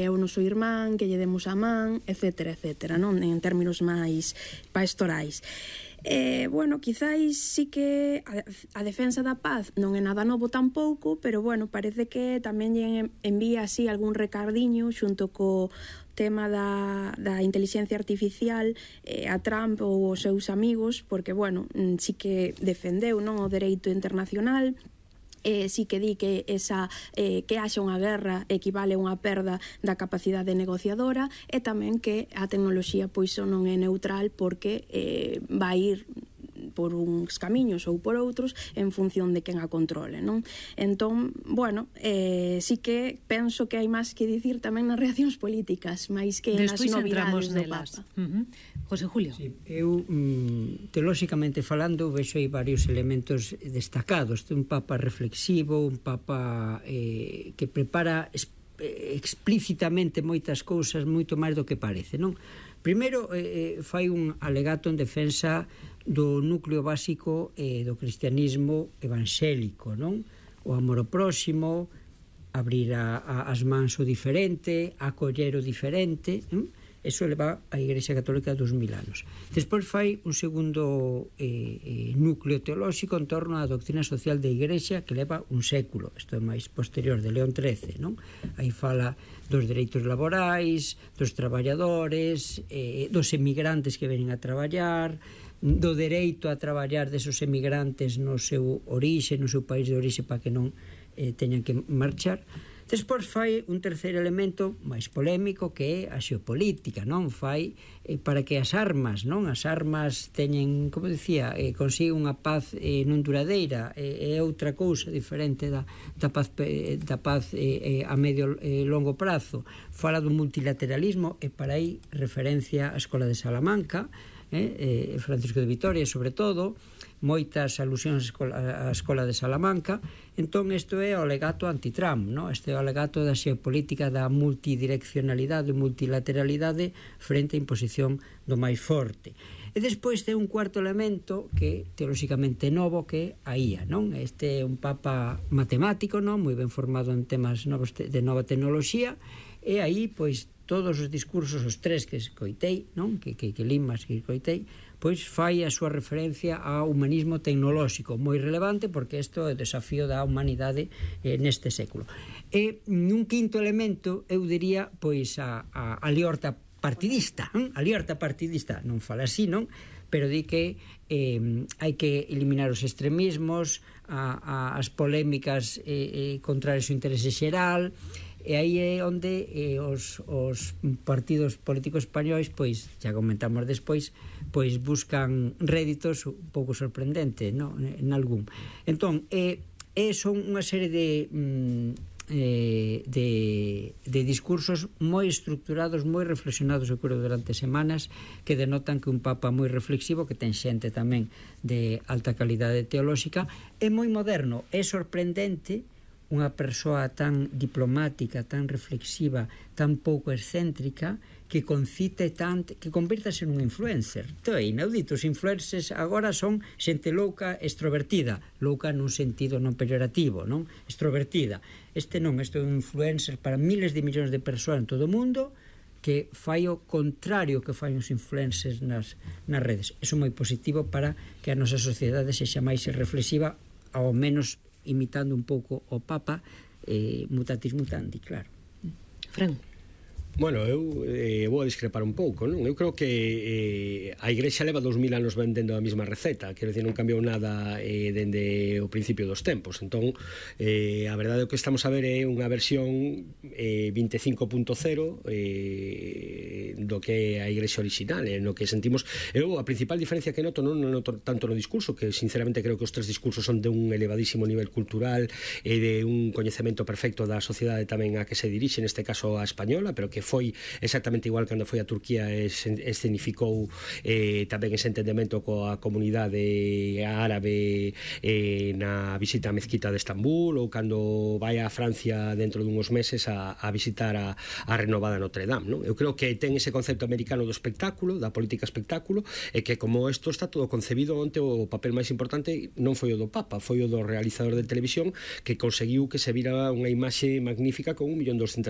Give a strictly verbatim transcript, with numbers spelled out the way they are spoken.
é o noso irmán, que lle demos a man, etcétera, etcétera, non? En términos máis pastorais. Eh, bueno, quizáis sí que a, a defensa da paz non é nada novo tampouco, pero bueno, parece que tamén lle envía así algún recardiño xunto co tema da, da inteligencia artificial eh, a Trump ou os seus amigos, porque bueno, sí que defendeu, non, o dereito internacional. Eh, sí que di que esa eh, que haxa unha guerra equivale a unha perda da capacidade negociadora, e tamén que a tecnoloxía pois non é neutral, porque eh, vai ir por uns camiños ou por outros en función de quen a controle, non? Entón, bueno, eh, sí que penso que hai máis que dicir tamén nas reaccións políticas, máis que nas novidades do Papa. Uh-huh. José Julio. Sí, eu, mm, teolóxicamente falando, vexo aí varios elementos destacados. Un Papa reflexivo, un Papa eh, que prepara explícitamente moitas cousas moito máis do que parece, non? Primeiro, eh, fai un alegato en defensa do núcleo básico eh, do cristianismo evangélico, non? O amor ao próximo, abrir a, a, as mans o diferente, acoller o diferente, non? Eso leva a Igrexa Católica dos mil anos. Despois fai un segundo eh, eh, núcleo teolóxico en torno á doctrina social da Igrexa, que leva un século. Isto é máis posterior, de León trece, non? Aí fala dos dereitos laborais, dos traballadores, eh, dos emigrantes que venen a traballar, do dereito a traballar desos emigrantes no seu orixe, no seu país de orixe, para que non eh, teñan que marchar. Despois fai un terceiro elemento máis polémico, que é a xeopolítica, non? Fai eh, para que as armas, non? As armas teñen, como dicía, eh, consigue unha paz eh, non duradeira, eh, é outra cousa diferente da, da paz, eh, da paz eh, eh, a medio e eh, longo prazo. Fala do multilateralismo, e para aí referencia á Escola de Salamanca, eh, eh, Francisco de Vitoria, sobre todo, moitas alusións á Escola de Salamanca. Entón, isto é o alegato anti-Trump, non? Este é o alegato da xeopolítica, da multidireccionalidade, multilateralidade frente á imposición do máis forte. E despois ten un cuarto elemento que teolóxicamente novo, que é a I A, non? Este é un papa matemático, non? Moi ben formado en temas novos de nova tecnoloxía, e aí, pois, todos os discursos, os tres que escoitei, non? Que, que, que limas que escoitei, pois fai a súa referencia ao humanismo tecnolóxico, moi relevante, porque isto é o desafío da humanidade eh, neste século. E un quinto elemento, eu diría, pois a, a, a liorta partidista, hm? a liorta partidista, non fala así, non? Pero di que eh, hai que eliminar os extremismos, a, a, as polémicas eh, eh, contra o interese xeral. E aí é onde eh, os, os partidos políticos españois, pois, xa comentamos despois, pois buscan réditos un pouco sorprendentes, no? En algún. Entón, eh, eh, son unha serie de, mm, eh, de, de discursos moi estructurados, moi reflexionados, eu creo, durante semanas, que denotan que un papa moi reflexivo, que ten xente tamén de alta calidade teolóxica, é moi moderno, é sorprendente unha persoa tan diplomática, tan reflexiva, tan pouco excéntrica, que concite tanto, que convírtase nun influencer. Isto é inaudito. Os influencers agora son xente louca, extrovertida, louca nun sentido non peyorativo, non? Extrovertida. Este non, este é un influencer para miles de millóns de persoas en todo o mundo, que fai o contrario que fai os influencers nas, nas redes. Eso é moi positivo para que a nosa sociedade sexa máis reflexiva, ao menos imitando un pouco o Papa, eh, mutatis mutandi, claro. Fran. Bueno, eu eh, vou a discrepar un pouco, non? Eu creo que eh, a Igrexa leva dous mil anos vendendo a mesma receta, quero dicir, non cambiou nada eh, dende o principio dos tempos. Entón, eh, a verdade é que estamos a ver é unha versión eh, veinticinco punto cero eh, do que é a Igrexa original, eh, no que sentimos. Eu, a principal diferencia que noto, non noto tanto no discurso, que sinceramente creo que os tres discursos son de un elevadísimo nivel cultural e de un coñecemento perfecto da sociedade tamén a que se dirixe, neste caso a española, pero que foi exactamente igual cando foi a Turquía e escenificou eh, tamén ese entendemento coa comunidade árabe eh, na visita á mezquita de Estambul, ou cando vai a Francia dentro dunhos meses a, a visitar a, a renovada Notre Dame, non? Eu creo que ten ese concepto americano do espectáculo, da política espectáculo, e que como isto está todo concebido, onte o papel máis importante non foi o do Papa, foi o do realizador de televisión, que conseguiu que se vira unha imaxe magnífica con un millón doscientas